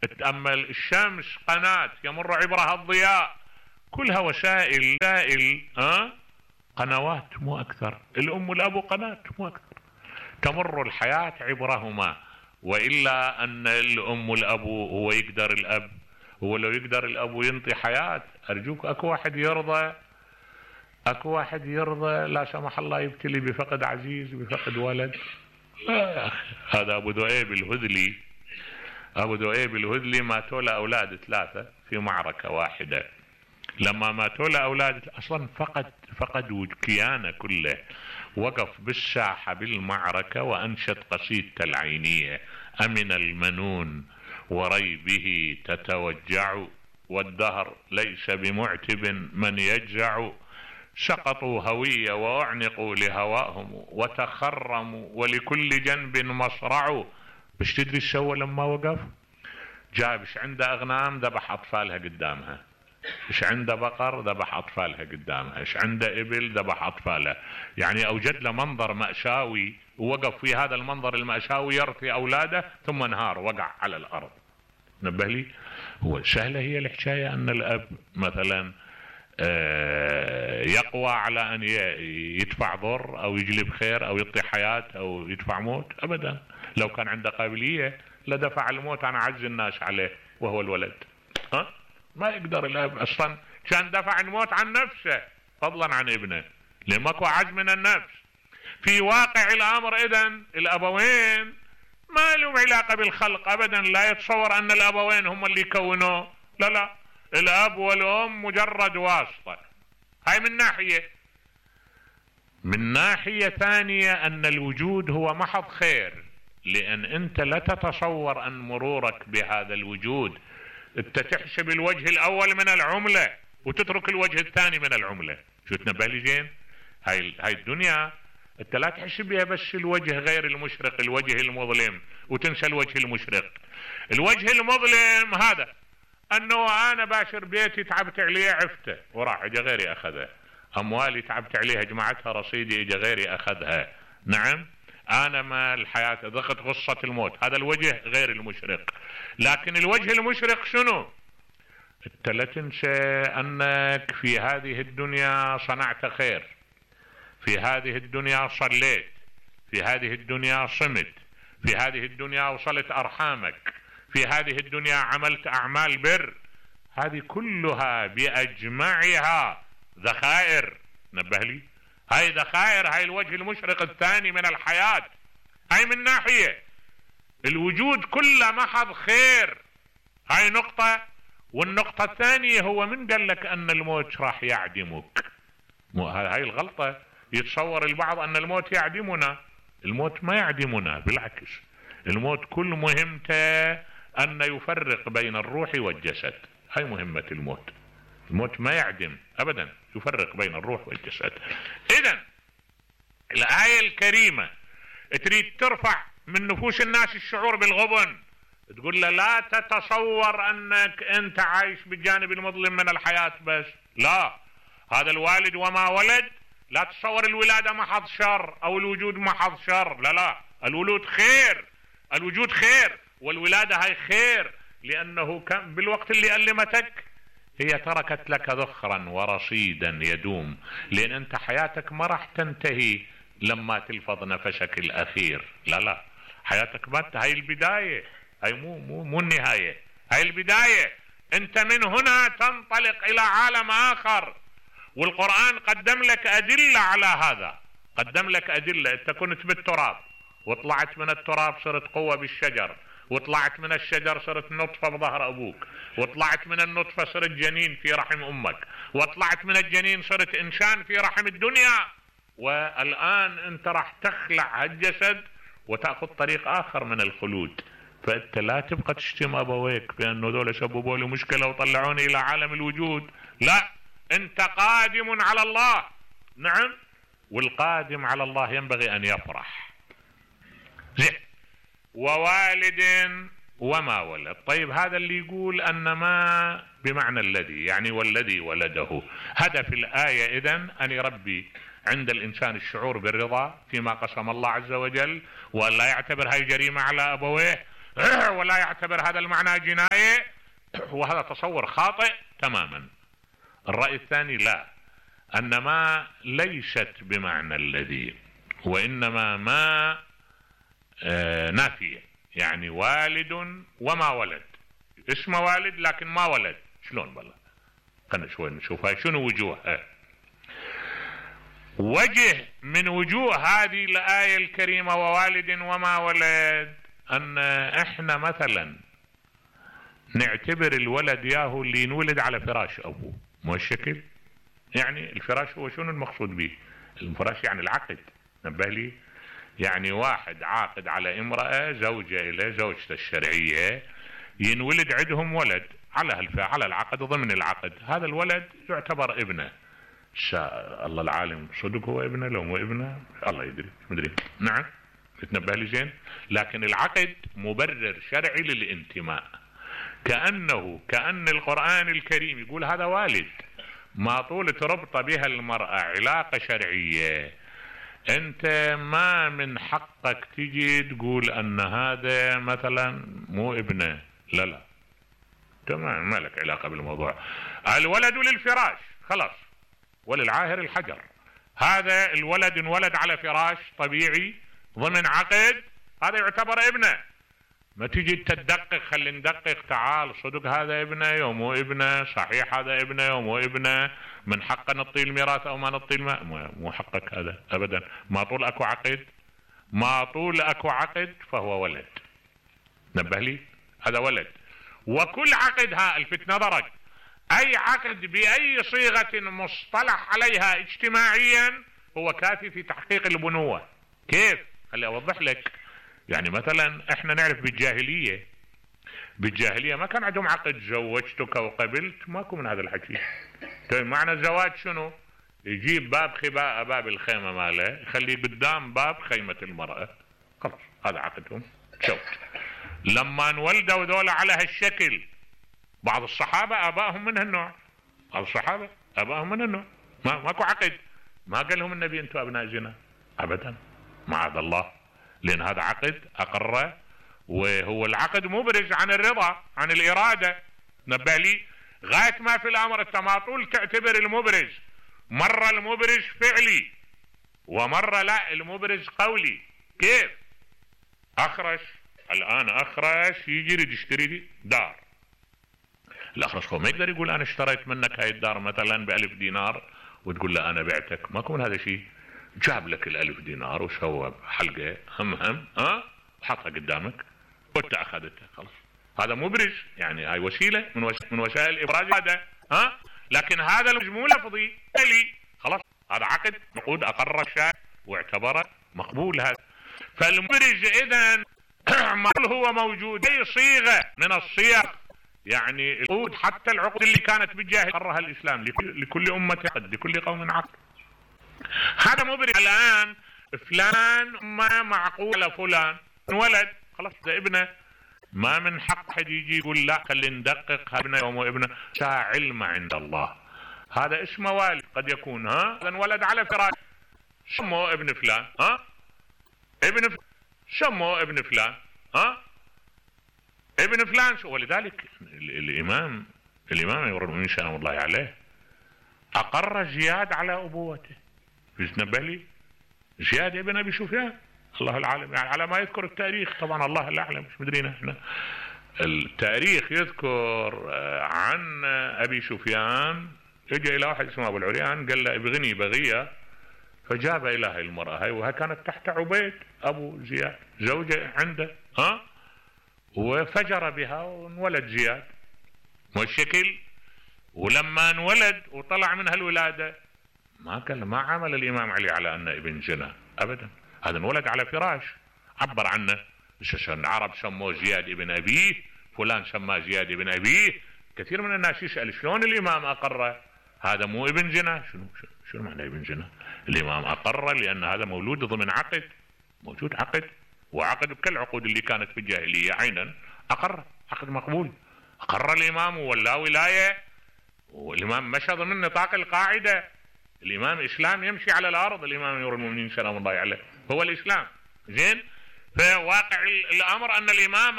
تأمل الشمس قناة يمر عبرها الضياء، كلها وسائل قنوات مو اكثر. الام والاب قناة مو اكثر، تمر الحياة عبرهما. والا ان الام والاب هو يقدر الاب، هو لو يقدر الاب ينطي حياة، ارجوك اكو واحد يرضى؟ اكو واحد يرضى لا سمح الله يبتلي بفقد عزيز، بفقد ولد؟ يا اخي هذا ابو ذؤيب الهذلي، ابو ذؤيب الهذلي ماتوا له اولاد 3 في معركة واحدة. لما ماتوا له اولاد اصلا فقد كيانه كله، وقف بالساحة بالمعركة وانشد قصيدته العينية: امن المنون وريبه تتوجع، والدهر ليس بمعتب من يجزع، سقطوا هوية واعنقوا لهواهم، وتخرموا ولكل جنب مصرع. بش تدري ايش سوى لما وقف؟ جاب ايش عنده اغنام ذبح اطفالها قدامها، ايش عنده بقر ذبح اطفالها قدامها، ايش عنده ابل ذبح اطفالها. يعني اوجد له منظر مأساوي، ووقف في هذا المنظر المأساوي يرثي اولاده، ثم انهار وقع على الارض. نبه لي، هو سهلة هي الحكاية ان الاب مثلا يقوى على ان يدفع ضر او يجلب خير او يعطي حياة او يدفع موت؟ ابدا. لو كان عنده قابلية لدفع الموت عن اعز الناس عليه وهو الولد. ما يقدر الاب اصلا، كان دفع الموت عن نفسه فضلا عن ابنه، لان ماكو اعز من النفس. في واقع الامر اذن الابوين ما لهم علاقة بالخلق ابدا، لا يتصور ان الابوين هم اللي كونوه، لا، الاب والام مجرد واسطة. هاي من ناحية. من ناحية ثانية ان الوجود هو محض خير، لان انت لا تتصور ان مرورك بهذا الوجود انت تحسب الوجه الاول من العملة وتترك الوجه الثاني من العملة. شو تنبه لي زين؟ هاي الدنيا انت لا تحسب بها بس الوجه غير المشرق، الوجه المظلم، وتنسى الوجه المشرق. الوجه المظلم هذا انه انا باشر بيتي تعبت عليه عفته وراح اجى غيري اخذه، اموالي تعبت عليها جمعتها رصيدي اجى غيري اخذها. نعم، انا ما الحياة ضغط غصة الموت، هذا الوجه غير المشرق. لكن الوجه المشرق شنو؟ انت لا تنسى انك في هذه الدنيا صنعت خير، في هذه الدنيا صليت، في هذه الدنيا صمت، في هذه الدنيا وصلت ارحامك، في هذه الدنيا عملت اعمال بر. هذه كلها باجمعها ذخائر. نبه لي، هاي ذخائر، هاي الوجه المشرق الثاني من الحياة. هاي من ناحية الوجود كله محض خير، هاي نقطة. والنقطة الثانية هو من قال لك ان الموت راح يعدمك؟ هاي الغلطة. يتصور البعض ان الموت يعدمنا، الموت ما يعدمنا، بالعكس الموت كل مهمته ان يفرق بين الروح والجسد. هاي مهمة الموت. الموت ما يعدم ابدا، يفرق بين الروح والجسد. اذن الآية الكريمة تريد ترفع من نفوس الناس الشعور بالغبن، تقول له لا تتصور انك انت عايش بالجانب المظلم من الحياة بس، لا، هذا الوالد وما ولد، لا تتصور الولادة محض شر او الوجود محض شر، لا، الولود خير، الوجود خير، والولادة هاي خير، لانه كان بالوقت اللي ألمتك هي تركت لك ذخرا ورصيدا يدوم، لان انت حياتك ما راح تنتهي لما تلفظ نفسك الاخير، لا، حياتك ما، هاي البداية، هاي مو النهاية، هاي البداية. انت من هنا تنطلق الى عالم اخر، والقرآن قدم لك ادلة على هذا، قدم لك ادلة. انت كنت بالتراب وطلعت من التراب صرت قوة بالشجر، وطلعت من الشجر صرت نطفة بظهر ابوك، وطلعت من النطفة صرت جنين في رحم امك، وطلعت من الجنين صرت انسان في رحم الدنيا، والان انت راح تخلع هالجسد وتأخذ طريق اخر من الخلود. فانت لا تبقى تشتم ابويك بانه ذولا سببوا لي مشكلة وطلعوني الى عالم الوجود، لا، انت قادم على الله. نعم، والقادم على الله ينبغي ان يفرح. زين، ووالد وما ولد. طيب هذا اللي يقول ان ما بمعنى الذي، يعني والذي ولده. هدف الآية اذن ان يربي عند الانسان الشعور بالرضا فيما قسم الله عز وجل، وان لا يعتبر هاي جريمة على ابويه ولا يعتبر هذا المعنى جناية، وهذا تصور خاطئ تماما. الرأي الثاني لا، أن ما ليست بمعنى الذي، وإنما ما نافية، يعني والد وما ولد، اسمه والد لكن ما ولد. شلون بالله؟ خلنا شوي نشوفها شنو وجوهها. وجه من وجوه هذه الآية الكريمة ووالد وما ولد، أن احنا مثلا نعتبر الولد ياهو اللي ينولد على فراش أبوه، مو الشكل؟ يعني الفراش هو شنو المقصود به؟ الفراش يعني العقد، نبه لي، يعني واحد عاقد على امرأة زوجة إلى زوجته الشرعية، ينولد عندهم ولد على العقد، ضمن العقد هذا الولد يعتبر ابنه. الله العالم صدق هو ابنه لو مو ابنه الله يدري، مدري. نعم تنبه لي زين. لكن العقد مبرر شرعي للانتماء، كأن القرآن الكريم يقول هذا والد، ما طول تربط بها المرأة علاقة شرعية، انت ما من حقك تجي تقول ان هذا مثلا مو ابنه، لا تمام، ما لك علاقة بالموضوع. الولد للفراش خلاص، وللعاهر الحجر. هذا الولد انولد على فراش طبيعي ضمن عقد، هذا يعتبر ابنه. ما تجي تدقق، خلي ندقق، تعال صدق هذا ابنه يوم مو ابنه، صحيح هذا ابنه يوم مو ابنه، من حقه نطي الميراث او ما نطي مو حقك هذا ابدا. ما طول اكو عقد فهو ولد، نبه لي، هذا ولد. وكل عقد، الفت نظرك، اي عقد باي صيغة مصطلح عليها اجتماعيا هو كافي في تحقيق البنوة. كيف؟ خلي اوضح لك. يعني مثلا احنا نعرف بالجاهلية ما كان عندهم عقد زوجتك وقبلت، ماكو من هذا الحكي. طيب معنى الزواج شنو؟ يجيب باب خباء، باب الخيمة ماله يخليه قدام باب خيمة المرأة، خلاص هذا عقدهم. شوف لما انولدوا ذولا على هالشكل، بعض الصحابة ابائهم من هالنوع، ماكو عقد، ما قال لهم النبي انتم ابناء زنا ابدا، معاذ الله، لان هذا عقد اقره، وهو العقد مبرز عن الرضا، عن الارادة، نبه لي. غاية ما في الامر انت ما طول تعتبر المبرز، مرة المبرز فعلي ومرة لا المبرز قولي. كيف؟ الان اخرش يجي يريد يشتري دار، الاخرش هو ما يقدر يقول انا اشتريت منك هاي الدار مثلا ب1000 دينار وتقول له انا بعتك، ماكو من هذا شيء. جاب لك ال1000 دينار وسوى حلقة هم وحطها قدامك وانت اخذتها، خلاص هذا مبرز، يعني هاي وسيلة من وسائل ابراز هذا. لكن هذا مو لفظي فعلي، خلاص هذا عقد نقود اقر الشارع واعتبره مقبول. هذا فالمبرز اذا هو موجود اي صيغة من الصيغ، يعني العقود، حتى العقود اللي كانت بالجاهلية قرها الاسلام لكل امة عقد، لكل قوم عقد. هذا مبرز. الان فلان ما معقول فلان ولد، خلاص ده ابنه، ما من حق حد يجي يقول لا خلي ندقق ابنه يوم ابنه. علم عند الله، هذا اسمه والد، قد يكون هذا ولد على فراش سموه ابن فلان، سموه ابن فلان، ابن فلان. ولذلك الامام امير المؤمنين سلام الله عليه اقر زياد على ابوته. تنبه لي، زياد ابن ابي سفيان، الله العالم، يعني على ما يذكر التاريخ، طبعا الله الاعلم مش مدرينا احنا. التاريخ يذكر عن ابي سفيان، اجى الى واحد اسمه ابو العريان قال له ابغني بغيه، فجاب الى هاي المرأة هاي، وها كانت تحت عبيد ابو زياد زوجة عنده، وفجر بها وانولد زياد، والشكل. ولما انولد وطلع منها الولادة ما عمل الامام علي على انه ابن زنا ابدا، هذا انولد على فراش، عبر عنه. العرب سموه زياد ابن ابيه، فلان سماه زياد ابن ابيه. كثير من الناس يسأل شلون الامام اقره هذا مو ابن زنا؟ شنو معنى ابن زنا؟ الامام اقره لان هذا مولود ضمن عقد، موجود عقد، وعقد كالعقود اللي كانت في الجاهلية عينا اقر، عقد مقبول، اقر الامام ولا ولاية، والامام مشى ضمن نطاق القاعدة. الامام اسلام يمشي على الارض، الامام امير المؤمنين سلام الله عليه هو الاسلام. زين، فواقع الامر ان الامام